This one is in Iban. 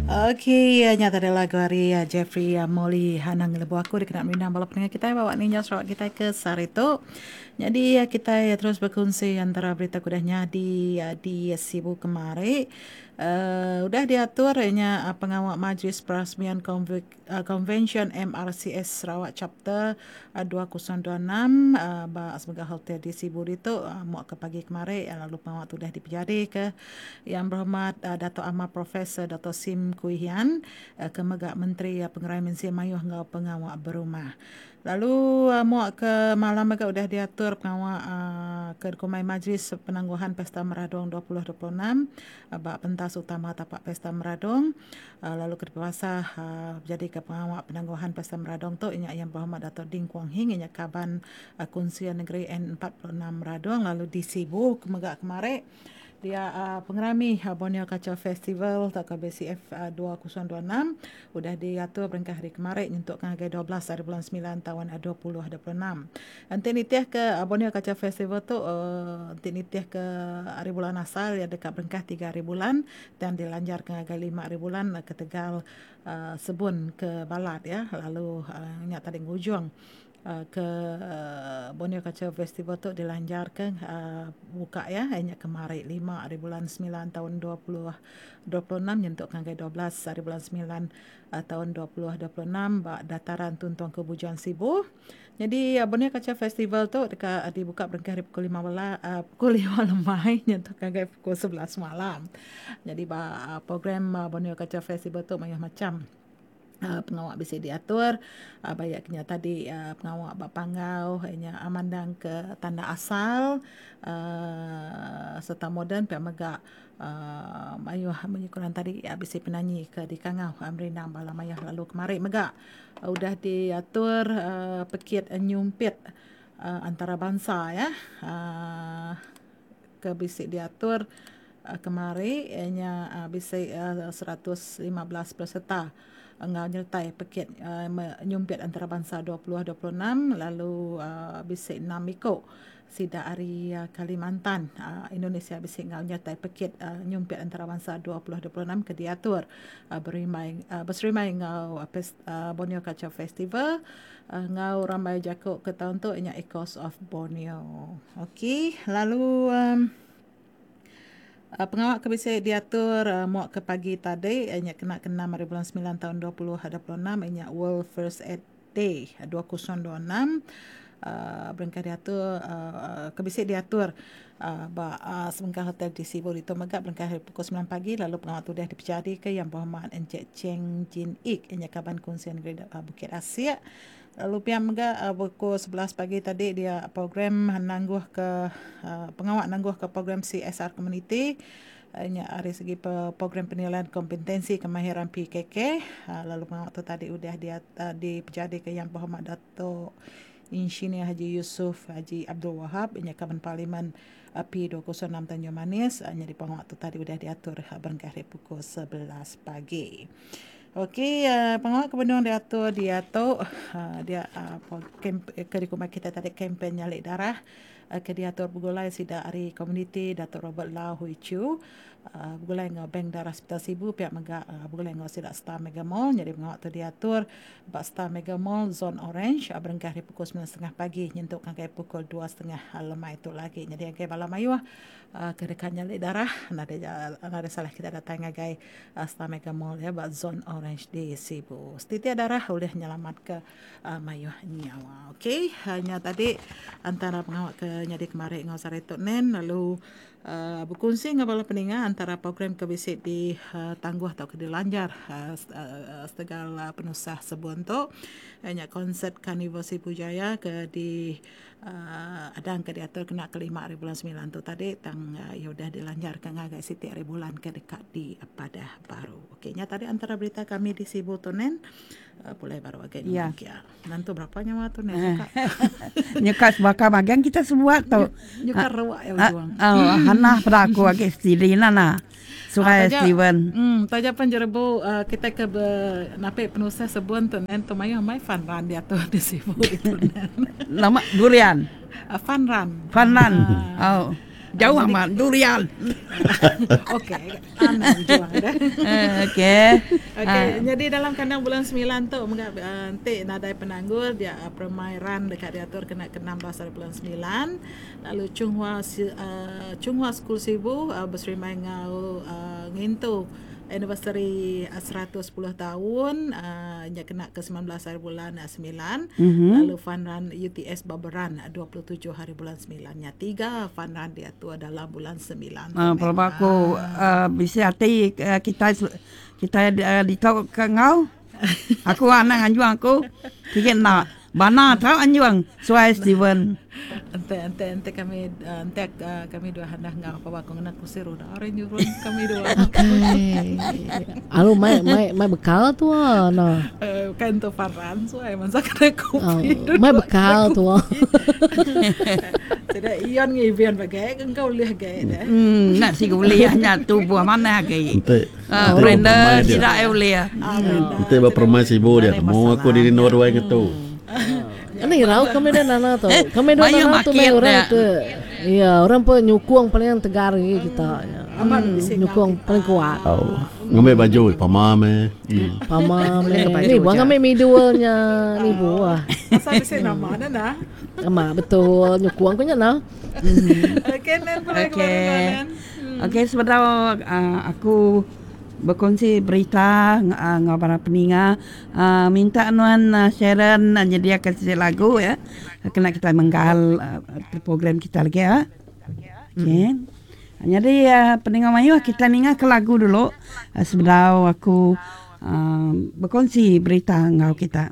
Okey, nya tadi lagu ari Jeffrey Molly Anang lebuh aku dikena merindang bala pendengar kitai bawa ninjau Sarawak kitai ke sehari tu. Nyadi kitai terus bekunsi antara berita ke udah nyadi di Sibu kemari. Udah diatur nya pengawa Majlis Perasmian Konvensyen MRCS Sarawak Chapter 2026 ba Semega Hotel di Sibu ditu muak ke pagi kemari lalu pengawa tu udah dipejadika Yang Berhormat Datuk Amar Profesor Doktor Sim Kui Hian ke mega Menteri Pengerai Mensia Mayuh enggau Pengawa Berumah. Lalu muak ke malam mega udah diatur pengawa ke dikumbai Majlis Penangguhan Pesta Meradong 2026 ba pentas utama tapak Pesta Meradong lalu ke dipebasa bejadika pengawa penangguhan Pesta Meradong tu inya Yang Berhormat Dato Ding Kuong Hing inya kaban Kunsil Negeri N46 Meradong lalu di Sibu ke mega kemari. Dia pengerami Borneo Culture Festival tauka BCF 2026 udah diatur berengkah hari kemari nyentuk ke ngagai 12 hari bulan semilan taun 2026. Enti nitih ke Borneo Culture Festival tu enti nitih ke hari bulan asal iya deka berengkah tiga hari bulan tang dilanjar ke ngagai lima hari bulan ketegal sebun ke balat iya lalu nya tadi ngujung ke Borneo Culture Festival tu dilanjarka buka iya iya nya kemari lima ari bulan semilan taun 2026 nyentuk ngagai 12 ari bulan semilan taun 2026 ba Dataran Tun Tuanku Bujang Sibu. Nyadi Borneo Culture Festival tu deka dibuka berengkah ari pukul lima bela pukul lima lemai nyentuk ngagai pukul 11 malam. Nyadi ba program Borneo Culture Festival tu mayuh macham. Pengawa bisi diatur ba iya ke nya tadi pengawa ba panggau iya nya mandang ke tanda asal uhh serta moden pia mega uhh mayuh munyi ku orang tadi bisi penanyi ke dikangau merindang bala mayuh lalu kemari mega udah diatur uhh pekit nyumpit antarabansa iya uhh ke bisi diatur kemari iya nya bisi 115 peserta enggau nyertai pekit nyumpit antarabansa 2026 lalu bisi enam iku sida ari Kalimantan Indonesia bisi enggau nyertai pekit nyumpit antarabansa 2026 ke diatur berimbai beserimbai enggau Borneo Culture Festival. Enggau rambai jaku ke taun tu inya Echoes of Borneo. Okey, lalu pengawa ke bisi diatur muak ke pagi tadi inya kena ke enam hari bulan semilan taun 2026 inya World First Aid Day 2026 uhh berengkah diatur uhh ke bisi diatur uhh ba sebengkah hotel di Sibu ditu mega berengkah ari pukul semilan pagi lalu pengawa tu udah dipejadika Yang Berhormat Encik Cheng Jin Ik inya kaban Kunsil Negeri Bukit Asik. Lalu pia mega pukul 11 pagi tadi dia program nangguhka pengawa nangguhka program CSR Community nya ari segi program penilaian kompetensi kemahiran PKK lalu pengawa tu tadi udah dipejadika Yang Berhormat Dato Insinyur Haji Yusuf Haji Abdul Wahab inya kaban parlimen P206 Tanjung Manis nyadi pengawa tu tadi udah diatur berengkah ari pukul 11 pagi. Okey pengawa ke benung diatur diatu dia ke dikumbai kitai tadi kempen nyali darah ke diatur begulai sida ari komuniti Datuk Robert Lau Hui Chu begulai enggau Bank Darah Hospital Sibu pia mega begulai enggau sida Star Mega Mall nyadi pengawa tu diatur ba Star Mega Mall Zon Orange berengkah ari pukul semilan setengah pagi nyentuk ngagai pukul dua setengah lemai tu lagi. Nyadi ngagai bala mayuh ke deka nyali darah nadai nadai salah kita datai ngagai Star Mega Mall iya ba Zon Orange di Sibu. Setitik darah ulih nyelamatka mayuh nyawa. Okey nya tadi antara pengawa ke nyadi kemari enggau sehari tu nen lalu Bekunsi enggau bala peninga antara program ke bisi ditangguh tauka dilanjar setegal penusah sebun tu iya nya konsert Karnival Sibu Jaya ke di adang ke diatur kena ke lima hari bulan semilan tu tadi tang iya udah dilanjarka ngagai siti hari bulan ke deka dipadah baru. Okey nya tadi antara berita kami di Sibu tu nen. Pulai baru agi Ya. Nokia. Nentu berapa nyawa tu nih suka. Nyuka sebaka bagian kita sebuat tu. Nyuka ruak ya ujung. Oh, Hana pada aku agi stidi nana. Surai Ah, Steven. Taja pan jerebu kita ke be napi penusah sebun tu nen tu mayuh amai fun run diatu di Sibu ditu nen. Nama durian. Fun run. Fun run. Oh. Jauh amat durian. Okey, anang juang dah. Okey. Okey, jadi dalam kandang bulan 9 tu mega enti nadai penanggul dia permai run deka diatur kena ke 16 hari bulan 9 lalu Chunghua Chunghua School Sibu beserimbai enggau ngintu anniversary 110 taun nya kena ke 19 hari bulan 9 lalu fun run UTS Baberan 27 hari bulan 9 nya tiga fun run diatur dalam bulan 9 tu. Pelaba aku bisi ati kitai kitai ditu ke enggau aku anang anjung aku sigi enda. Bana tau anjung suai Steven. Enti enti enti kami enti kami dua handah enggau apa aku ngena kursi roda ari nyurung kami dua. Akai. Alu mai mai mai bekal tua nah. Bukan tu paran suai masa kena kopi. Oh, mai bekal tua. Sida ion ngiben bagai engkau ulih gai deh. Hmm, nak siga ulih nya tubuh manah agi. Enti. Uh, Brenda sida ai ulih. Enti ba permai sibu dia temu aku diri endur wai ngetu. Ini irau kami dah nana tu. Kami dah nana tu mai orang ke ya orang pe nyukung paling tegar lagi kita. Nyukung paling kuat. Oh. Ngambil baju pama me. Pama me. Ni buah ngambil midulnya ni buah. Asal bisi nama dah nah. Ama betul nyukung ku nya nah. Okey nen pulai ke baru nen. Okey sebedau aku Bekongsi berita enggau bala peninga minta nuan Sharon nyediaka siti lagu ya kena kitai menggal program kita lagi ya. Okey. Nyadi peninga mayuh kitai ninga ke lagu dulu sebedau aku bekongsi berita enggau kita.